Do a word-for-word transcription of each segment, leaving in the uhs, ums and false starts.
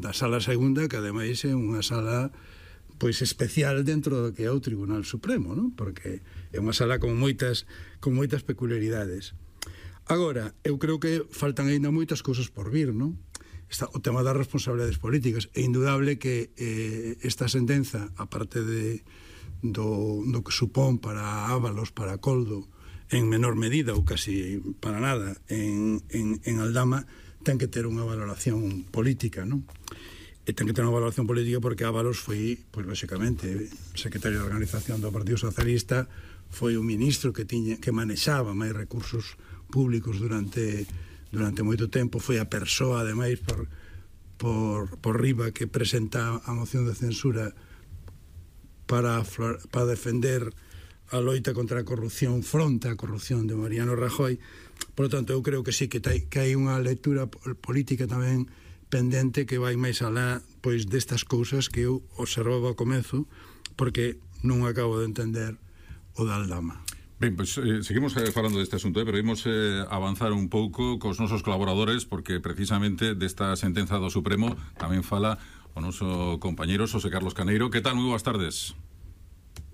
da sala segunda, que ademais é unha sala pois especial dentro do que é o Tribunal Supremo, non? Porque é unha sala con moitas con moitas peculiaridades. Agora, eu creo que faltan aínda moitas cousas por vir, non? Está o tema das responsabilidades políticas. É indudable que eh, esta sentenza, aparte de, do, do que supón para Ábalos, para Coldo, en menor medida ou casi para nada en, en, en Aldama, ten que ter unha valoración política, non? E ten que ter unha valoración política porque Ábalos foi, pois, lóxicamente, secretario de Organización do Partido Socialista, foi un ministro que tiña que manexaba máis recursos públicos durante durante moito tempo, foi a persoa, ademais, por, por, por riba que presenta a moción de censura para, para defender a loita contra a corrupción, fronte á corrupción de Mariano Rajoy. Por lo tanto, eu creo que sí, que, tai, que hai unha lectura política tamén pendente que vai máis alá, pois, destas cousas que eu observaba ao comezo, porque non acabo de entender o da Aldama. Ben, pois eh, seguimos eh, falando deste asunto, eh, pero imos eh, avanzar un pouco cos nosos colaboradores, porque precisamente desta sentenza do Supremo tamén fala o noso compañeiro Xosé Carlos Caneiro. Que tal? Moi boas tardes.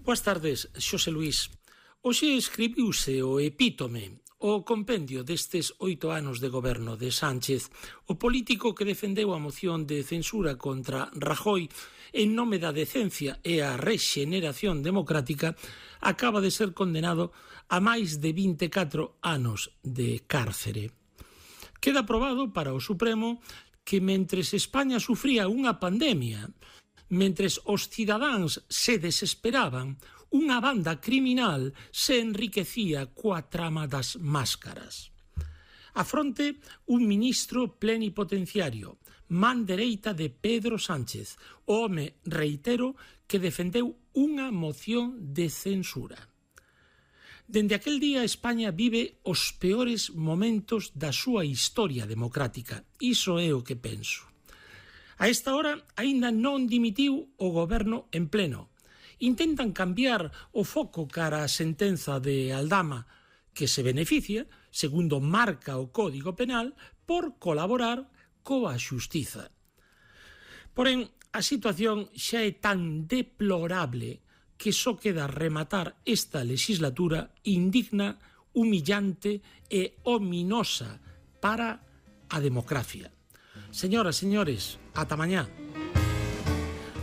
Boas tardes, Xosé Luís. Hoxe escribiuse o epítome, o compendio destes oito anos de goberno de Sánchez. O político que defendeu a moción de censura contra Rajoy en nome da decencia e a rexeneración democrática acaba de ser condenado a máis de vinte e catro anos de cárcere. Queda probado para o Supremo que mentres España sufría unha pandemia, mentres os cidadáns se desesperaban, unha banda criminal se enriquecía coa trama das máscaras. A fronte, un ministro plenipotenciario, man dereita de Pedro Sánchez, o home, reitero, que defendeu unha moción de censura. Dende aquel día, España vive os peores momentos da súa historia democrática. Iso é o que penso. A esta hora, aínda non dimitiu o goberno en pleno. Intentan cambiar o foco cara a sentenza de Aldama, que se beneficia, segundo marca o Código Penal, por colaborar coa xustiza. Porén, a situación xa é tan deplorable que só queda rematar esta legislatura indigna, humillante e ominosa para a democracia. Señoras, señores, ata mañá.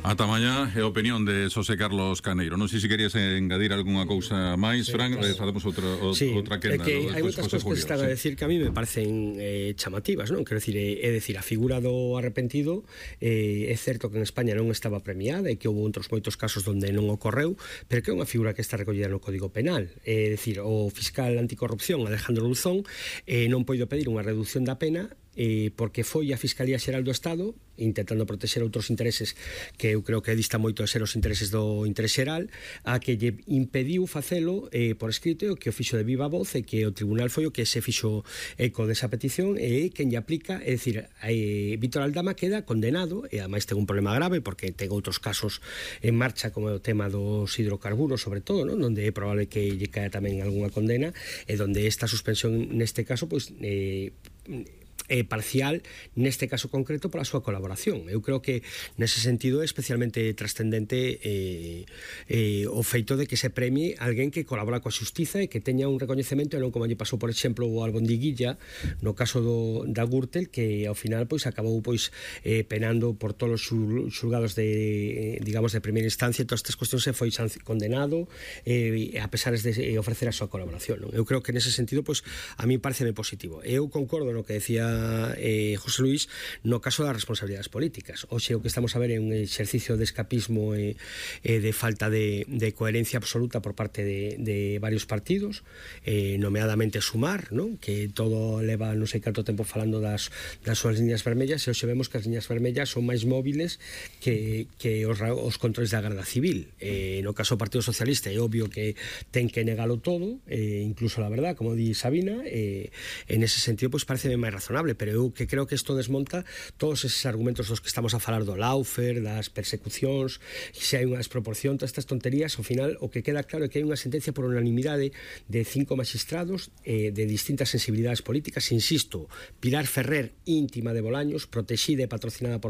Ata mañá é a opinión de Xosé Carlos Caneiro. Non sei se querías engadir algunha cousa máis, sí, Fran, claro. eh, facemos outra, o, sí, outra quenda. É que hai moitas cousas que están sí. a decir que a mí me parecen eh, chamativas, non? Quero decir, é, é decir, a figura do arrepentido eh, é certo que en España non estaba premiada e que houve outros moitos casos onde non ocorreu, pero que é unha figura que está recollida no Código Penal. É dicir, o fiscal anticorrupción Alejandro Luzón eh, non poido pedir unha reducción da pena eh, porque foi a Fiscalía Xeral do Estado intentando protexer outros intereses que eu creo que dista moito de ser os intereses do interés xeral, a que lle impediu facelo eh, por escrito, o que o fixo de viva voz e que o tribunal foi o que se fixo eco desa petición e quen lle aplica, é dicir, eh, Vítor Aldama queda condenado e ademais ten un problema grave porque ten outros casos en marcha como o tema dos hidrocarburos sobre todo, non? Donde é probable que lle caia tamén algunha condena e donde esta suspensión neste caso pois eh, eh, parcial neste caso concreto pola súa colaboración. Eu creo que nese sentido é especialmente trascendente eh, eh, o feito de que se premie alguén que colabora coa xustiza e que teña un recoñecemento e non como lle pasou, por exemplo, o Albondiguilla no caso do, da Gürtel, que ao final pois acabou pois eh, penando por todos os xulgados de, eh, digamos, de primeira instancia, e todas estas cuestións se foi condenado eh, a pesar de eh, ofrecer a súa colaboración, non? Eu creo que nese sentido pois a mí pareceme positivo. Eu concordo no que decía Eh, José Luis no caso das responsabilidades políticas. Hoxe o que estamos a ver é un exercicio de escapismo e, e de falta de, de coherencia absoluta por parte de, de varios partidos, eh, nomeadamente Sumar, ¿no? Que todo leva non sei canto tempo falando das, das súas liñas vermellas, e hoxe vemos que as liñas vermellas son máis móviles que, que os, os controles da Garda Civil. Eh, no caso do Partido Socialista é obvio que ten que negalo todo, eh, incluso la verdad, como di Sabina, eh, en ese sentido pois parece máis razonable, pero eu que creo que isto desmonta todos eses argumentos dos que estamos a falar do lawfare, das persecucións, se hai unha desproporción, todas estas tonterías. Ao final o que queda claro é que hai unha sentencia por unanimidade de cinco magistrados eh, de distintas sensibilidades políticas. Insisto, Pilar Ferrer, íntima de Bolaños, protexida e patrocinada por